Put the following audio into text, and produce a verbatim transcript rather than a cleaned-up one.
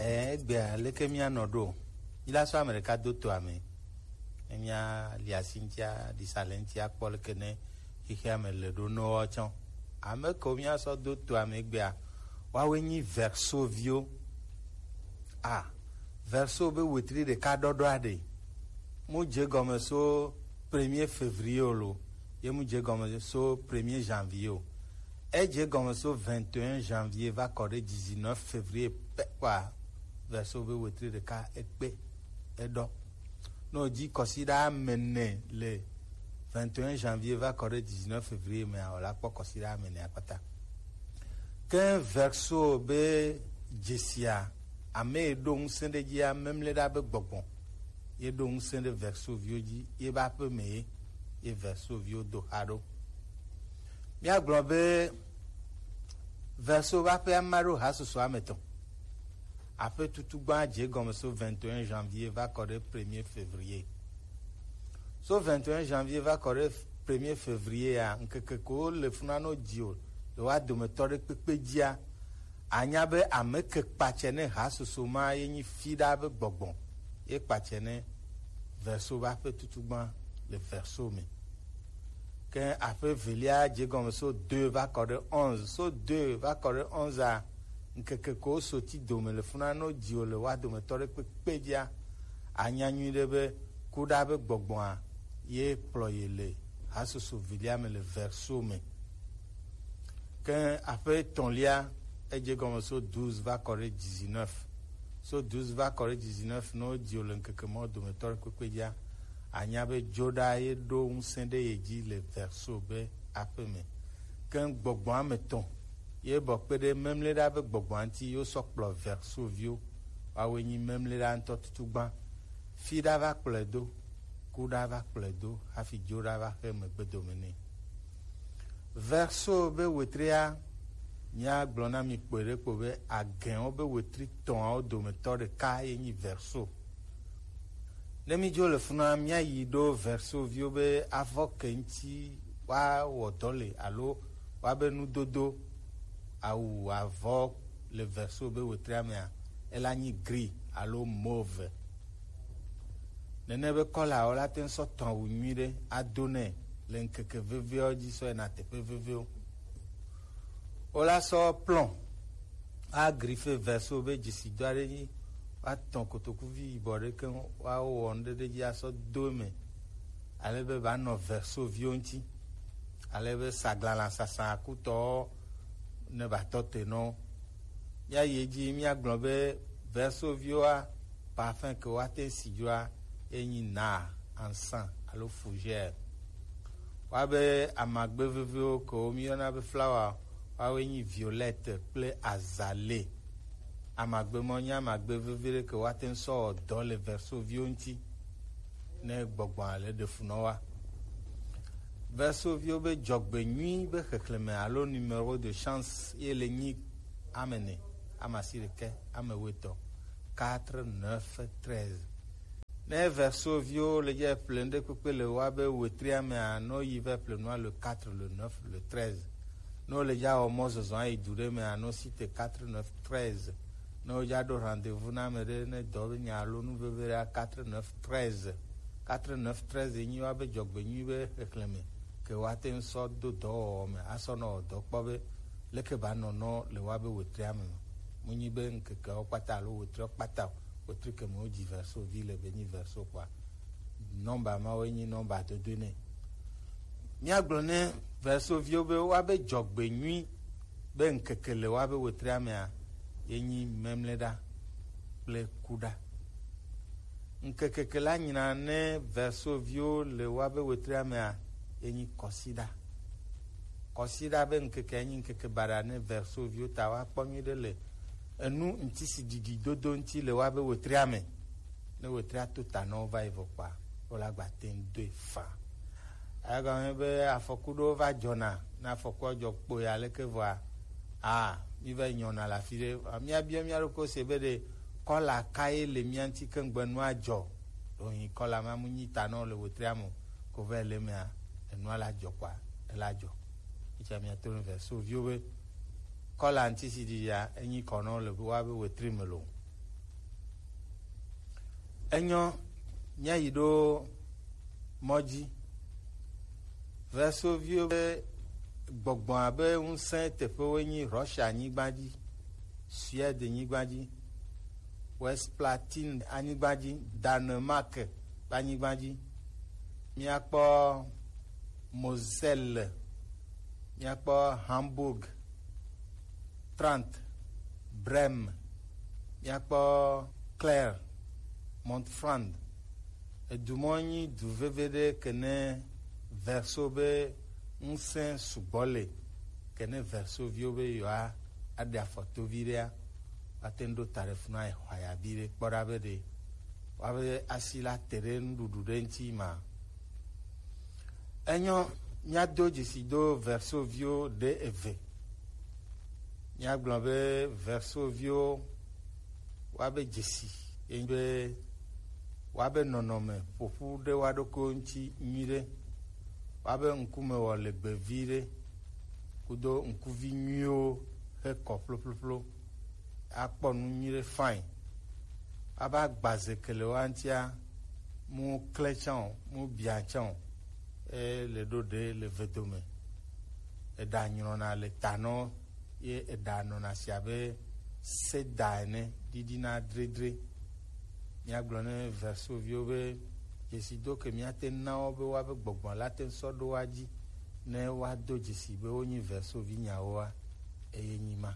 Egbea leke mía nɔ ɖo? Míla sɔ ame ɖeka do to ame. Ne mía li asi ŋutia, ɖisa le ŋutia kpɔ leke ne xexea me le ɖo nɔ tsɔ. Ame kewo mía sɔ do to ame egbea, woawoe nyi Verseau viwo. A, Verseau be wetri ɖeka ɖɔɖɔ aɖe. Mu dze gɔme so premier février o lo, ye mu dze gɔme so premier janvier o. Edze gɔme so vingt et un janvier va kɔ ɖe dix-neuf février pɛ kpɔa, Verseau be wetri ɖeka ekpe eɖɔ. Ne wòdzi kɔsiɖa ame ene le vingt et un janvier va kɔ ɖe dix-neuf février mea, wòla kpɔ kɔsiɖa ame ene akpata. Ke Verseau be dzesia, ame yi ɖo ŋusẽ ɖe dzia, memle ɖa be gbɔgbɔ ye ɖo ŋusẽ ɖe Verseau viwo dzi, ye be aƒe me ye, ye Verseau viwo do xa ɖo. Míagblɔ be Verseau be aƒea ma ɖo hasusu ame etɔ̃. Aƒe tutugbã dze gɔme so vingt et un janvier va kɔ ɖe premier février. So vingt et un janvier va kɔ ɖe premier février a, ŋkeke ko le funa no dzi o, le wa dometɔ ɖe kpekpe dzia, anya be ame ke kpatsɛ ne hasusu ma ye nyi fi ɖa be gbɔgbɔ, ye kpatsɛ ne Verseau be aƒe tutugbã le Verseau me. Ke aƒe evelia dze gɔme so deux va kɔ ɖe onze. So deux va kɔ ɖe onze a, ŋkeke ko soti dome le funa no dzi o le wa dometɔ ɖe kpekpe dzia, anya nyuiɖe be kuɖa be gbɔgbɔa ye kplɔ ye le hasusu vilia me le Verseau me. Ke aƒe etɔ̃lia, edze gɔme so douze va kɔ ɖe dix-neuf. So douze va kɔ ɖe dix-neuf, ne wodzi wò le ŋkeke mawo dometɔ ɖe kpekpe dzia, anya be dzoɖa ye ɖo ŋusẽ ɖe ye dzi le Verseau be aƒe me. Ke gbɔgbɔ ame etɔ̃ ye bɔ kpe ɖe memle ɖa be gbɔgbɔa ŋuti ye wosɔ kplɔ Verseau viwo. Woawoe nyi memle ɖa ŋutɔ tutugbã. Fi ɖa va kplɔe do, ku ɖa va kplɔe do, hafi dzo ɖa va xe megbe dome nɛ. Verseau be wetria, míagblɔ na mi kpoe ɖe kpo be, agɛnwo be wetri tɔ̃awo dometɔ ɖeka ye nyi Verseau. Ne mídzo le funa, míayi ɖo Verseau viwo be avɔ ke ŋuti woawɔ dɔ le alo woabe nudodo, awu, avɔ le Verseau be wetria mea, ela nyi gris alo mauve. Nene be kɔlawo la te ŋu sɔ tɔ̃ awu nyuiɖe ado nɛ le ŋkeke vevewo dzi sɔ yina teƒe vevewo. Wola sɔ plɔ̃, a griffe Verseau be dzesi do aɖe dzi, woatɔ̃ kotokuvi yibɔ ɖe keŋ, woawɔ nu ɖe ɖe dzi asɔ do eme, ale be ba nɔ Verseau viwo ŋuti, ale be saglala sasa kutɔwo ne ba tɔ te nɔ. Míayi edzi, míagblɔ be Verseau viwoa, parfum ke woate si dzoa, ye nyi nard, encens alo fougère. Woabe amagbe veviwo ke wo míyɔna be flower, woawoe nyi violette kple azalée. Amagbe ma nye amagbe vevi ɖe ke woate ŋu sɔ wɔ dɔ le Verseau viwo ŋuti ne gbɔgbɔa le ɖe fu nɔ wa. Verseau viwo be dzɔgbe nyui be xexlẽme alo numéro de chance ye le nyi ame ene, ame asiɖekɛ, ame wuietɔ̃, quatre, neuf, treize. Ne Verseau viwo le dze ƒle ŋɖe kpekpe le woabe wetria mea, ne woyi va ƒle nua le quatre, le neuf, le treize. Ne wole dza wɔ mɔzɔzɔ ayi du ɖe mea, ne wosi te quatre, neuf, treize. Ne wodza ɖo rendez-vous na ame ɖe, ne dɔ be nya alo nu veve ɖe, quatre, neuf, treize. Quatre, neuf, treize nyi woabe dzɔgbenyui be xexlẽme ke woate ŋu sɔ do dɔwɔwɔ me asɔ nɔ wɔ dɔ kpɔ be leke ba nɔ nɔ le woabe wetria me. Mu nyi be ŋkekeawo kpata alo wetriawo kpata o, wetri ke me wodzi Verseau vi le be nyi Verseau kpɔa, nɔmba mawoe nyi nɔmba dodoe nɛ. Míagblɔ ne Verseau viwo be woabe dzɔgbenyui be ŋkeke le woabe wetria mea, ye nyi memleɖa kple kuɖa. Ŋkeke ke la nyina ne Verseau viwo le woabe wetria mea, ye nyi kɔsiɖa. Kɔsiɖa be ŋkeke ye nyi ŋkeke baɖa ne Verseau viwo ta woakpɔ nyuiɖe le enu ŋutisiɖiɖi dodo ŋuti le woabe wetria me. Ne wetria to ta nɔ wo va yi vɔ kpɔa, wo la gba te ŋu doe faa. Egɔme be afɔku ɖewo va dzɔna, ne afɔkua dzɔ kpoya leke vɔa, a, mi va yi nyɔna le afi ɖe. Míabiɔ mía ɖokui se be ɖe kɔla kae le mía ŋuti ke ŋgbe nua dzɔ. Ɖo nyi kɔla ma mu nyi ta nɔ le wetria me o, ko va yi le mea, enua la dzɔ kpɔa, ela dzɔ. Etsa mía to ne Verseau viwo be kɔla ŋutisiɖiɖia, enyi kɔ nɔ le woabe wetri me lo. Enyo, míayi ɖo mɔ dzi. Versoviwo be gbɔgbɔ abe ŋusẽ teƒewoe nyi Russia nyigba dzi, Suède nyigba dzi, West Platine anyigba dzi, Danemark ƒe anyigba dzi. Míakpɔ Moselle, míakpɔ Hamburg, Trent, Brême, míakpɔ Clare, Montfranc. Edu mɔ nyi du veve ɖe ke ne Verso be ŋusẽ sugbɔ le, ke ne Versoviwo be yewoa aɖe afɔtovi ɖea, woate ŋu ɖo ta ɖe funu ayi xɔ aya vi ɖe kpɔ ɖa be ɖe woabe asi la te ɖe nuɖuɖu ɖe ŋuti ma. Enyo, míado dzesi do Versoviwo ɖe eve. Míagblɔ be Versoviwo woabe dzesi ye nyi be woabe nɔnɔme ƒoƒu ɖe woa ɖokuiwo ŋuti nyuiɖe, woabe ŋkume wɔ legbe vi ɖe, kudo ŋkuvi nyuiwo he kɔ ƒloƒloƒlo, akpɔ nu nyuiɖe fine. Aba gbaze ke le woa ŋutia, mu klẽ tsã o, mu bia tsã o, e le ɖo ɖe le vedome. Eɖa nyrɔna le ta nɔ ye eɖa nɔna si abe seda ene, ɖiɖina dredre. Míagblɔ ne Versoviwo be dzesido ke míate na wo be woabe gbɔgbɔ la te ŋu sɔ ɖo woa dzi ne woado dzesi be wonyi Versovi nyawoa, eye nyi ma.